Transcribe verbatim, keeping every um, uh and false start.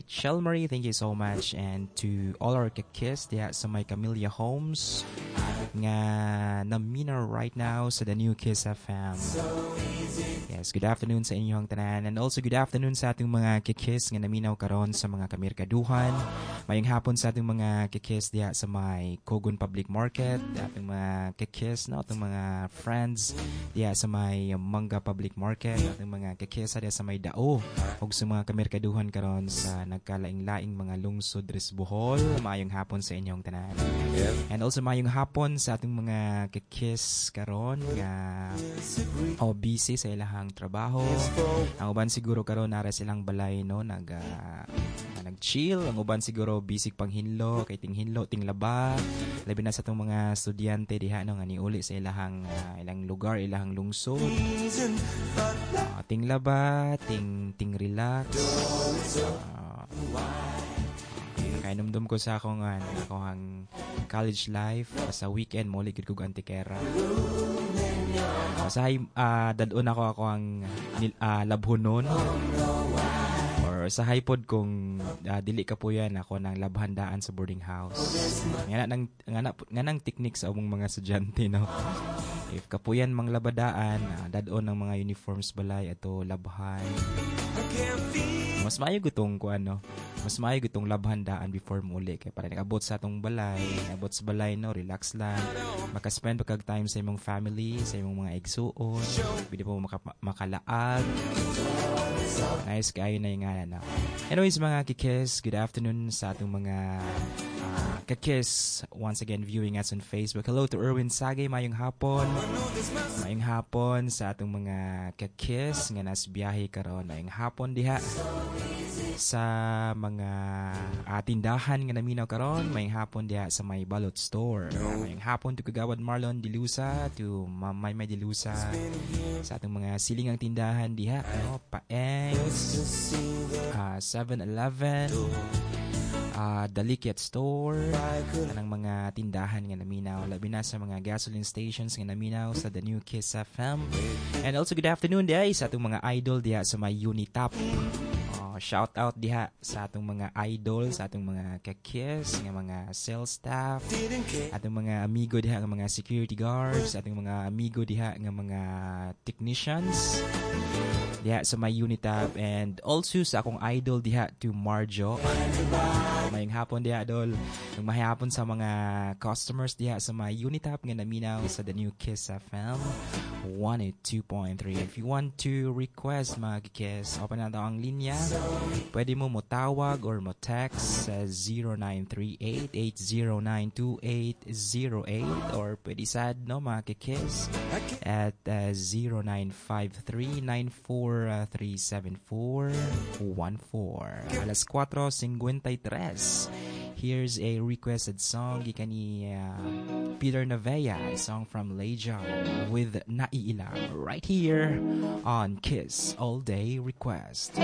Ate Marie, thank you so much. And to all our kakis diha sa may Camilla Homes nga naminaw right now sa the new Kiss F M. Yes, good afternoon sa inyong tanan and also good afternoon sa atong mga kikis nga naminaw karon sa mga kamirkaduhan. Mayong hapon sa atong mga kikis diha sa may Cogon Public Market, atong mga kikis, no, atong mga friends diha sa may Mangga Public Market, atong mga kikis diha sa may Dao ug sa mga kamirkaduhan karon sa nagkalaing-laing mga lungsod diri sa Bohol. Maayong hapon sa inyong tanan. And also maayong hapon sa atong mga kikis karon nga o busy sa ilahang trabaho. Ang uban siguro karon nara silang balay, no, nag uh, nag-chill, ang uban siguro busy panghinlo kay tinghinlo, tinglaba. Labi na sa atong mga estudyante diha, no, nga niuli sa ilahang uh, ilang lugar, ilahang lungsod. Uh, tinglaba, ting ting relax. Uh, Nakainumdum ko sa akong uh, akong college life sa weekend mo gid kog Antequera. Usahay uh, dad-on ako ako ang uh, labhonon or usahay pod kung uh, dili ka po yan ako nang labhandaan sa boarding house. Nga nang nga na, nga nang technique sa among mga estudyante, no. If kapuyan mang labadaan, uh, dad-on ng mga uniforms balay ato labhan. Mas maayo gutong ko ano, mas maayo gutong labhandaan before muli kay para nakabot sa atong balay, abot sa balay, no, relax lang. Maka-spend pa kag time sa imong family, sa imong mga igsuon, pwede po maka, makalaag. Nice kaayo na yung nga na. Anyways, mga kikis, good afternoon sa atong mga uh, kakis once again viewing us on Facebook. Hello to Erwin Sagay, mayong hapon. Mayong hapon sa atong mga kakis nga nas biyahe karon. Mayong hapon diha sa mga uh, tindahan nga naminaw karon. Mayong hapon diha sa may Balot Store. Mayong hapon to Kagawad Marlon Dilusa, to Mamay May Dilusa, sa atong mga silingang tindahan diha, no, Paengs, uh, seven-Eleven, uh, Dalikyat Store, kanang mga tindahan nga naminaw, labi na sa mga gasoline stations nga naminaw sa the new Kiss F M. And also good afternoon diha sa atong mga idol diha sa may Unitap. Uh, shout out diha sa atong mga idol, sa atong mga kakis, nga mga sales staff, atong mga amigo diha nga mga security guards, atong mga amigo diha nga mga technicians diha sa may Unitap and also sa akong idol diha to Marjo. Mayong hapon diha, dol. Mayong hapon sa mga customers diha sa may Unitap nga naminaw sa the new Kiss F M one oh two point three. If you want to request, mga kiss, open na ang linya. Pwede mo mo tawag or mo text sa zero nine three eight, eight zero nine, two eight zero eight or pwede sad, no, mga kiss, at uh, zero nine five three, nine four three seven four one four. Alas four fifty-three. Here's a requested song gikan ni uh, Peter Navea, a song from Lejon with Naiilang right here on Kiss All Day Request.